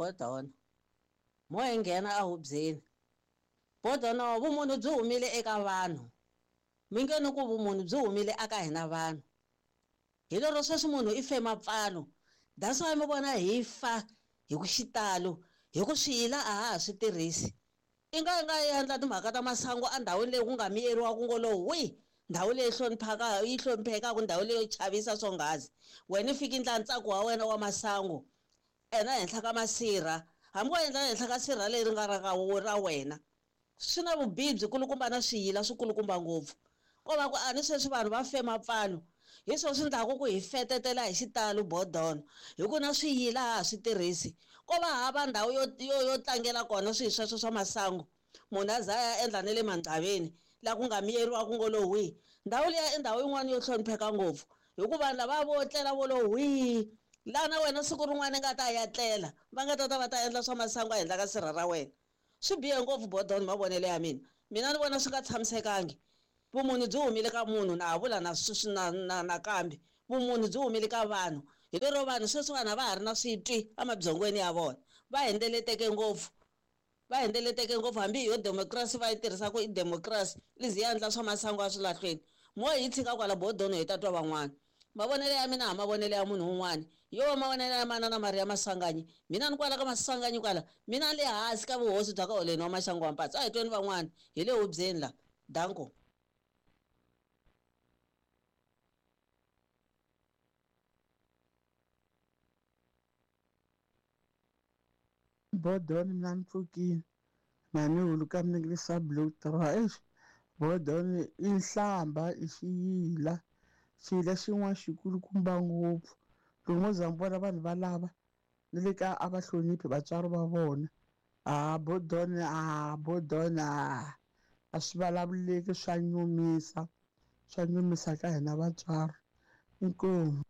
Bodona. Mo hi nghena ehubyeni. Bodono vumunhu byi humile eka vanhu. Mi nge ni ku vumunhu byi humile aka hina vanhu. Hi lero sweswi munhu i fe mapfalo. That's why mi vona hi fa hi ku xitalo hi ku swiyila a ha ha swi tirhisi. I nga i nga endla timhaka ta masangu endhawini leyi ku nga miyeriwa ku ngo lo hwi, ndhawu leyi hloniphaka yi hloniphekaka ndhawu leyo chavisa swonghazi. Wena i fika i ndla ntsako wa wena wa masangu ena henhla ka masirha, hambi wo endla henhla ka sirha leri nga ra ka ra wena. Swi na vubihi byikulukumba na swiyila swikulukumba ngopfu. Ko va ku a ni sweswi vanhu va fe mapfalo. Hi swona swi endlaka ku hi fetetela hi xitalo bodono hi ku na swiyila ha ha swi tirhisi. Ko va hava ndhawu yo yo yo tlangela kona swilo sweswo swa masangu. Munhu a za a ya endla na le mandhaveni laha ku nga miyeriwa ku ngo lo hwii. Ndhawu liya i ndhawu yin'wana yo hlonipheka ngopfu hi ku vanhu lava vo tlela vo lo hwii, laha na wena siku rin'wana i nga ta ya tlela va nga ta ta va ta endla swa masangu ehenhla ka sirha ra wena. Swi bihe ngopfu bodono hi mavonelo ya mina. Mina ni vona swi nga tshamisekangi. Vumunhu byi humile ka munhu na ha vula na sweswi na na nakambe. Vumunhu byi humile ka vanhu. Hi lero vanhu sweswiwani a va ha ri na switwi emabyongweni ya vona. Va hundzeleteke ngopfu. Va hundzeleteke ngopfu hambi hi yo democracy va yi tirhisaka i democracy i ze yi endla swa masangu eswilahlweni. Mo hi tshika kwala bodono hi ta twa van'wana. Mavonelo ya mina ha mavonelo ya munhu un'wana. Yo va mavonelo ya manana Maria Maswanganyi. Mina ni kwala ka Maswanganyi kwala. Mina ni le hansi ka vuhosi bya ka Holeni wa Maxangu wa Mpatsi. A hi tweni van'wana. Hi le hubyeni la. Danko. Bodoni mina ni pfukile mhani huluka mi blue draw eish bodoni i nhlamba i xiyila xiyila xin'wana xikulukumba ngopfu loko mo za mi vona vanhu valava ni le ka a va hloniphi vatswari va vona a bodoni a bodoni a a swi vulavuleki swa nyumisa swa nyumisa ka hina vatswari inkomu.